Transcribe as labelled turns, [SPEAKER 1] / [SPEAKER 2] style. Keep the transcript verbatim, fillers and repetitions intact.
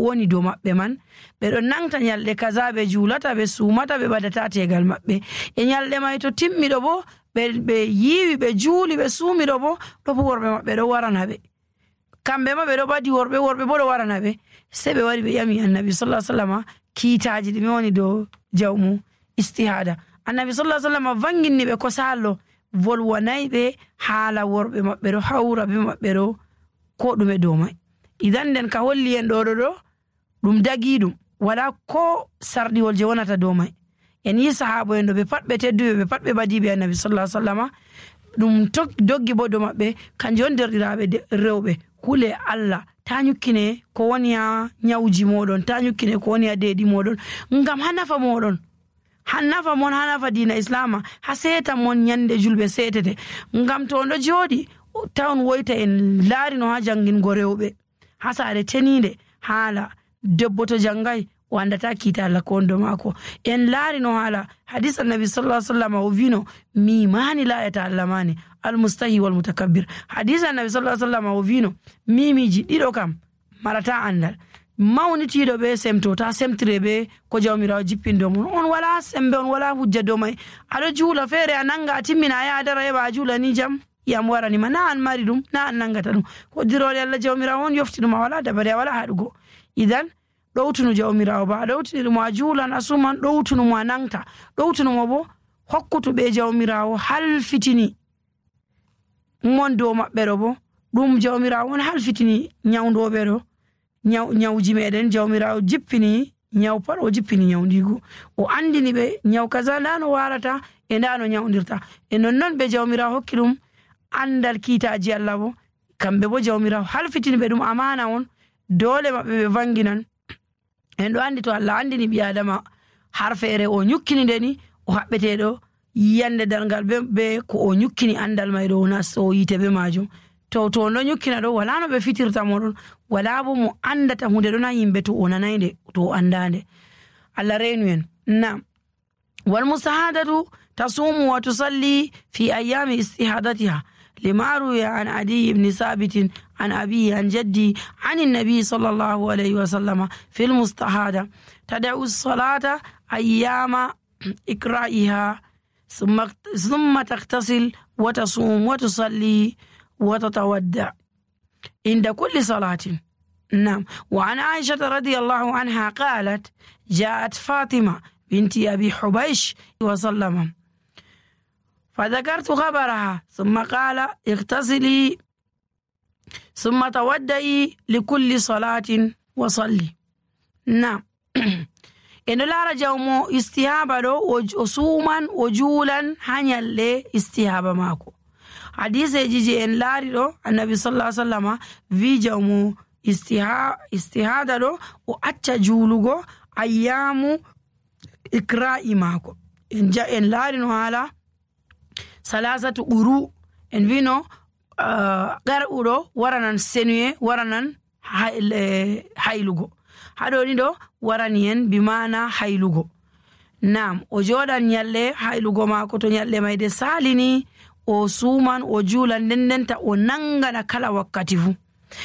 [SPEAKER 1] woni dow maɓɓe man ɓe ɗon nangta nyalɗe kaza ɓe juulata ɓe suumata ɓe ɓadata tegal maɓɓe e nyalɗe may to timmiɗo bo ɓe yiiwi ɓe juuli ɓe suumiɗo bo ɗo bo worɓe maɓɓe ɗo warana ɓe kamɓe ma ɓe ɗo ɓadi worɓe worɓe bo ɗo warana ɓe sei ɓe wari ɓe ƴami annabi sallallahu alaihi wasallam kiitaji ɗi mi woni dow jawmu istihada annabi sallallahu alaihi wasallam vanginni ɓe ko sallo volwanayi ɓe haala worɓe maɓɓe ɗo hawra be maɓɓe ɗo ko ɗume dow may idan nden ka holli en ɗo ɗo ɗo ɗum dagi ɗum wala ko sarɗiwol je wonata dow may en yi sahabo en ɗo ɓe pat ɓe tedduɓe ɓe pat ɓe badiɓe annabi sallallahu alaihi wasallam ɗum doggi bo dow maɓɓe kanjum on derɗiraɓe rewɓe hule Allah ta nyukkine ko woni ha nyawji moɗon ta nyukkine ko woni ha deeɗi moɗon ngam ha nafa moɗon ha nafa mon ha nafa diina islama ha seeta mon nyande julɓe seetete ngam to on ɗo jooɗi tawn woyta en laarino ha jangingo rewɓe ha saare teninde haala debbo to jangai o andata kiita Allah ko wonɗo maako en laarino haala hadis annabi sallallahu alaihi wasallam o vino mimani layata Allah mani almustahi wal mutakabbir hadis annabi sallallahu alaihi wasallam o vino mimiji ɗiɗo kam marata andal mawnitiɗo ɓe semto ta semtire ɓe ko jawmirawo jippindo mon on wala sembe on wala hujja dow may aɗo juula feere a nanga a timmina a yaha dara heɓa a juula ni jam yam waranima na an mari ɗum na an nangata ɗum koddirole Allah jawmirawo on yofti ɗum a wala dabare a wala haɗugo idan ɗowtunu jawmirawo ba a ɗowtiniɗumo a juulan a suman ɗowtunumo a nangta ɗowtunumo bo hokkutuɓe jawmirawo halfitini mon dow maɓɓe ɗo bo ɗum jawmirawo on halfitini nyawdoɓe ɗo nyawji meɗen jawmirawo jippini nyaw pat o jippini nyawdigu o andini ɓe nyaw kaza nda no warata e nda no nyawdirta e nonnon ɓe jawmirawo hokki ɗum andal kiitaji Allah bo kamɓe bo jawmirawo halfitini ɓe ɗum amana on dole maɓɓe ɓe vanginan en ɗo andi to Allah andini ɓi adama har feere o nyukkini ndeni o haɓɓeteɗo yiyande dargal be ko o nyukkini andal may ɗo nasto yite be majum to to no nyukkina ɗo wala no ɓe fitirta moɗon wala bo mo andata hunde ɗon ha yimɓe to o nanayde to o andande Allah reenu en nam wal mustahadatu tasumu wa tusalli fi ayami istihadatiha لما روي عن عدي بن ثابت عن أبيه عن جدي عن النبي صلى الله عليه وسلم في المستحاضة تدعو الصلاة أيام إقرائها ثم ثم تغتسل وتصوم وتصلي وتتودع عند كل صلاة. نعم. وعن عائشة رضي الله عنها قالت جاءت فاطمة بنت أبي حبيش وسلم فذكرت خبرها ثم قال اغتسلي ثم تودئي لكل صلاة وصلي. نعم. إن لا رجوم استهابة وصوما وجولا هنيال استهابة ماكو حديث جيجي إن لاري النبي صلى الله عليه وسلم في جوم استهادة وأتى جولو أيام إقراء ماكو إن جاء إن لاري هالا salasatu ɓuru en wino garɓuɗo waranan senuye waranan haylugo haɗoni ɗo warani en bimana haylugo. Nam o joɗan nyalle haylugo mako to nyalle mayde salini o suman o juulan ndendenta o nangana kala wakkati fu